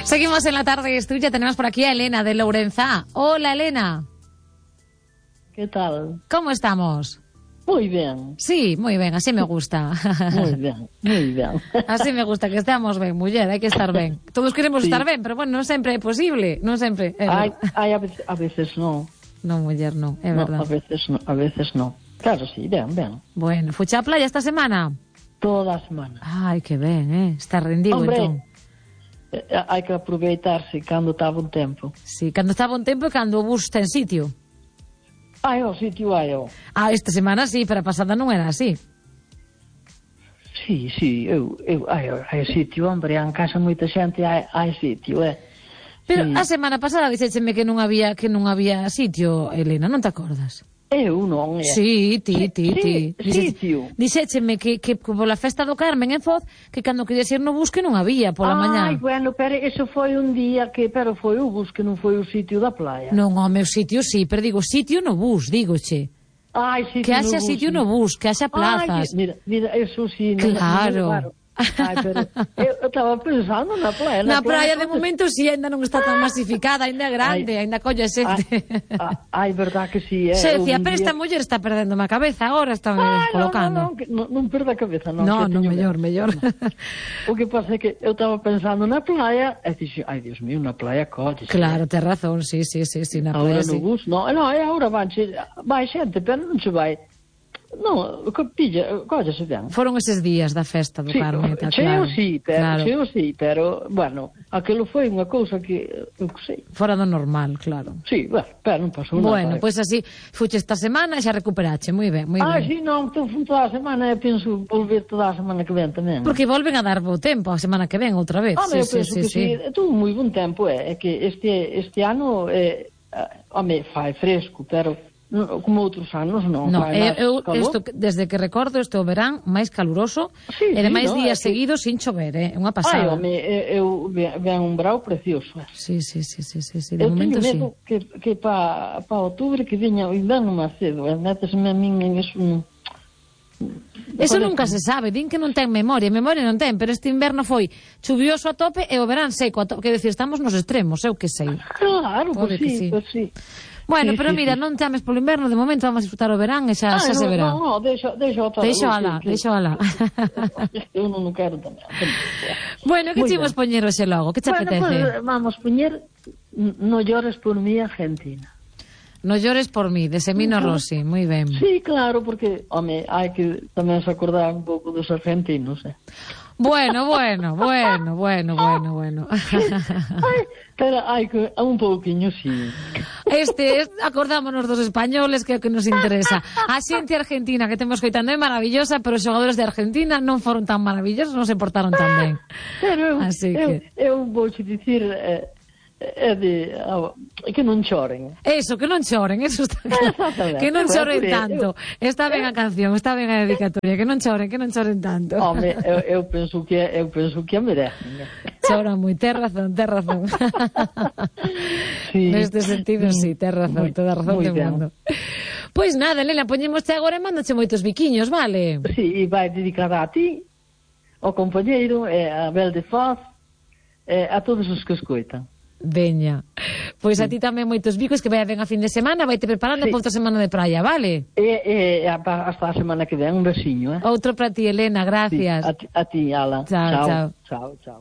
Seguimos en la tarde estudia, tenemos por aquí a Elena de Lourenzá. Hola, Elena. ¿Qué tal? ¿Cómo estamos? Muy bien. Sí, muy ben, así me gusta. Muy bien, muy ben. Así me gusta, que estemos ben, muller, hai que estar ben. Todos queremos estar ben, pero bueno, non sempre é posible, non sempre. A veces no. Non, muller, non, é verdad. A veces no. Claro, sí, ben. Bueno, fuche á playa esta semana? Toda a semana. Ai, que ben, está rendido, Hombre, entón. hai que aproveitarse cando está bon tempo. Sí, cando está bon tempo e cando o bus ten sitio. Hai o sitio, hai o. Ah, esta semana sí, pero a pasada non era así. Sí, hai sitio, hombre, en casa moita xente hai sitio, Pero sí. a semana pasada dixécheme que non había sitio, Elena, non te acordas? Eu non, Sí, ti. Sitio. Dixécheme que pola festa do Carmen en Foz, que cando querías ir no bus que non había pola mañá. Ai, bueno, pero eso foi un día pero foi o bus que non foi o sitio da playa. Non, o meu sitio sí, pero digo, sitio no bus, dígoche. Ai, sitio Que haxa no bus, sitio sí. no bus, que haxa plazas. Ai, mira, eso sí. Claro. Ai, pero eu estaba pensando na playa. Na praia de momento si ainda non está tan masificada, ainda é grande, ainda colle xente. Ai, verdad que sí, Se decía, pero esta muller está perdendo a cabeza, agora está colocando. Non perda a cabeza, non. Non, mellor. O que pasa é que eu estaba pensando na playa, e dixo, ai, Dios mío, na playa colle. Claro, tes razón, sí, na playa. Agora sí. no bus, non, agora vai xente, pero non se vai. Non, collese ben. Foron eses días da festa do Carmen, claro. Cheo sí, pero, bueno, aquilo foi unha cousa que, eu que sei. Fora do normal, claro. Sí, bueno, pero non pasou nada. Bueno, pois así, fuche esta semana e xa recuperache, moi ben. Sí, non, toda a semana, penso volver toda a semana que ven tamén. Porque volven a dar bo tempo a semana que ven outra vez. Eu penso que sí, tuvo moi bon tempo, é que este ano, fai fresco, pero como outros anos non. No, desde que recordo este o verán máis caluroso e de máis días seguidos sin chover, é unha pasada. Eu ven un brao precioso. Sí, de momento sí. Eu teño medo que pa outubro que viña o inverno máis cedo, métesme a min en eso. Eso nunca se sabe, din que non ten memoria non ten, pero este inverno foi chuvioso a tope e o verán seco a tope, que decir, estamos nos extremos, eu que sei. Claro, pois sí. Bueno, pero mira, non chames polo inverno, de momento vamos a disfrutar o verán e xa se verá. Non, deixo alá. Eu non quero tamén. Bueno, que chimos poñer hoxe logo? Que te apetece? Vamos poñer No llores por mí, Argentina. No llores por mí, de Semino Rossi, moi ben. Sí, claro, porque, hai que tamén se acordar un pouco dos argentinos, Bueno. Pero hai que un pouquiño, sí. Acordámonos dos españoles, que é o que nos interesa. A xente argentina que temos coitando é maravillosa, pero os xogadores de Argentina non foron tan maravillosos, non se portaron tan ben. Pero eu vou te dicir... que non choren. Eso, que non choren, eso está claro. Que non choren tanto. Está ben a canción, está ben a dedicatoria, que non choren tanto. Home, eu penso que a merecen. Choran moi, tes razón. Sí. Neste sentido, sí, tes razón, toda a razón do mundo. Pois nada, Elena, poñémoste agora e mándoche moitos biquiños, vale? Sí, e vai dedicada a ti, ao compañeiro, a Bel de Foz, a todos os que escoitan. Veña, pois a ti tamén moitos bicos, que vai ben a fin de semana, vai te preparando para outra semana de praia, vale? Hasta a semana que ven, un besiño, Outro para ti, Elena, gracias. A ti, Ala. Chao. Chao.